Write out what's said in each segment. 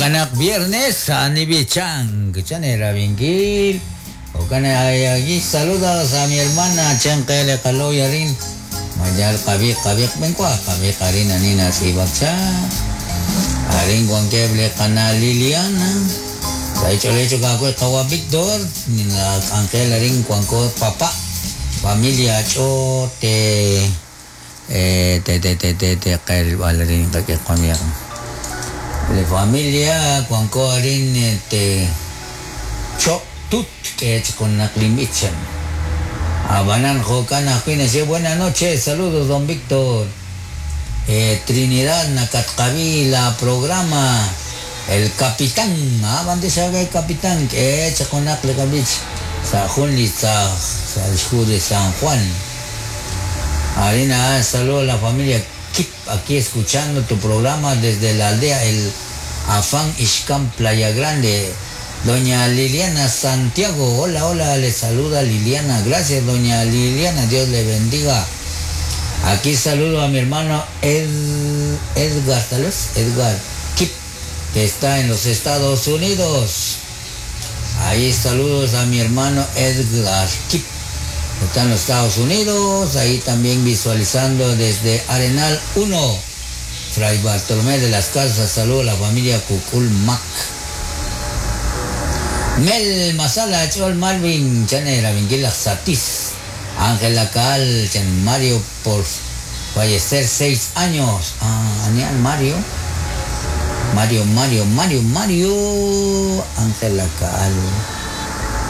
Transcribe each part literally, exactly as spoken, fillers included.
Jokanak viernes anibichang chanera bingil. Jokana aquí saludos a mi hermana Chankele Kaloyarin. Mayal kabi kabi benkwa kabi karina nina sibakcha. Arin guankeble kana Liliana. Sa hecho kakwe kawa Victor nina Angel arin guanko papá. Familia cho te eh te te te te te kel alarin kake kwamiak. Le familia guanko arin te cho tut que con la klimichan. Abanan Jocana Juines, buenas noches, saludos don Víctor. Eh, Trinidad Nakatkabi, la programa El Capitán, ah, bandesa el Capitán, que chaconaklecabich, Sajunli de San Juan. Arina, saludos a la familia Kip, aquí escuchando tu programa desde la aldea El Afán Ixcán, Playa Grande. Doña Liliana Santiago, hola, hola, le saluda Liliana. Gracias, doña Liliana, Dios le bendiga. Aquí saludo a mi hermano Ed, Edgar, tal vez, Edgar Kip, que está en los Estados Unidos. Ahí saludos a mi hermano Edgar Kip, que está en los Estados Unidos. Ahí también visualizando desde Arenal uno, Fray Bartolomé de las Casas. Saludo a la familia Cucul Mac. Mel Masala, Chol Malvin, Chanera, Vinguila Satis, Ángela Cal, Chan Mario por fallecer seis años. Ah, Anian Mario. Mario, Mario, Mario, Mario, Ángela Cal.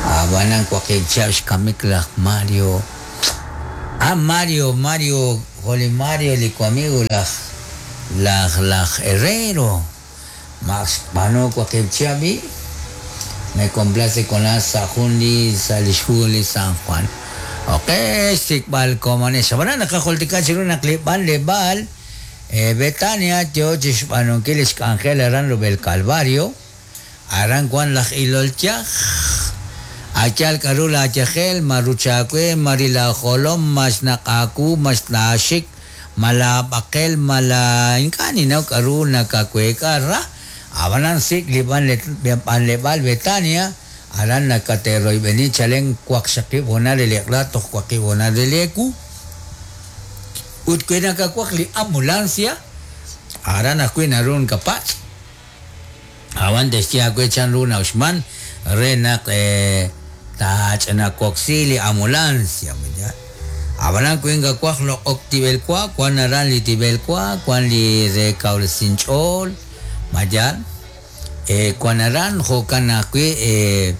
Abanan Cuaquilchash, Kamikla, Mario. Ah, Mario, Mario, Jole Mario, lico amigo, la, la, la Herrero. Max, Mano, Cuaquilchabi. Me complace con la Sajundi, Salishuli, San Juan. Ok, sikbal komanes. Sabana nakakultika siro naklibal lebal. Eh, Betania, Tiochis, Panonquiles, Ángel, Aran, Rubel Calvario. Aran, Juan, Laj, Ilolchaj. Achal, Karula, Achajel, Maruchakwe, Marila, Jolom, Masnakaku, Masnashik, Malabakel, Mala, Inkani, no, Karuna, Kakwekara. Abanan sik liban lebal Betania aran nakateroy beni chalen kwak shakib honare leklato kwak honare leku utkwena kakwak li ambulancia aran akwena run kapat awan destia kwe chan runa usman renak eh tach na koxili ambulancia ya abanan kwenga kwak lo oktibel kwa kwan aran li tibel kwa kwan li rekaul sinchol Mayan, eh, cuanaran, jocanacui, eh,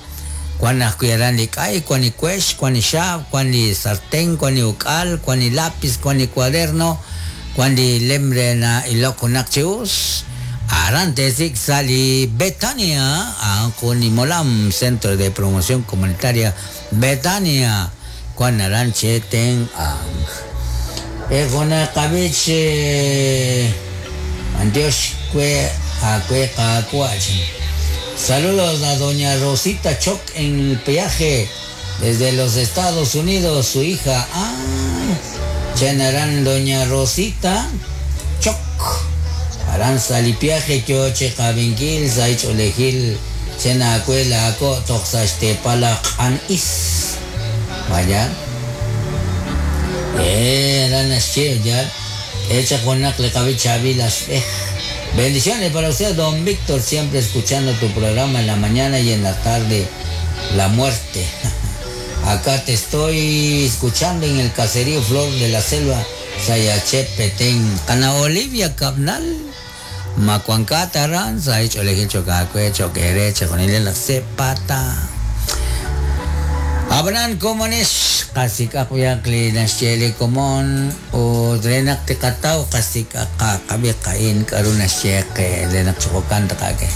cuanacuiaran licay, cuanicuesh, cuanishab, cuani sartén, cuaniucal, cuani lápiz, cuani cuaderno, cuani lembrena y loconaccheus, arantesic sali Betania, Anconimolam, Centro de Promoción Comunitaria Betania, cuanaran cheten ang. Eh, conacabich, Dios cue. Saludos a doña Rosita Choc en el peaje desde los Estados Unidos, su hija. Ah, Chenarán doña Rosita Choc. Aranza lipiaje kioche kabinquil, saicholejil, chenacuela ako toxaxtepalaq anis. Vaya. Eh, ya. Echa con le cabichavilas. Bendiciones para usted, don Víctor, siempre escuchando tu programa en la mañana y en la tarde, la muerte. Acá te estoy escuchando en el caserío Flor de la Selva, Sayache, Petén, Cana Olivia, Cabnal, Macuancata, Saich, Olejicho, Cacuecho, Querecha, con la Cepata. Abran komones kasik akuyakli nasyeli komon o drenak tikataw kasik akakabi kain karunasyeke drenak chukokanta kake.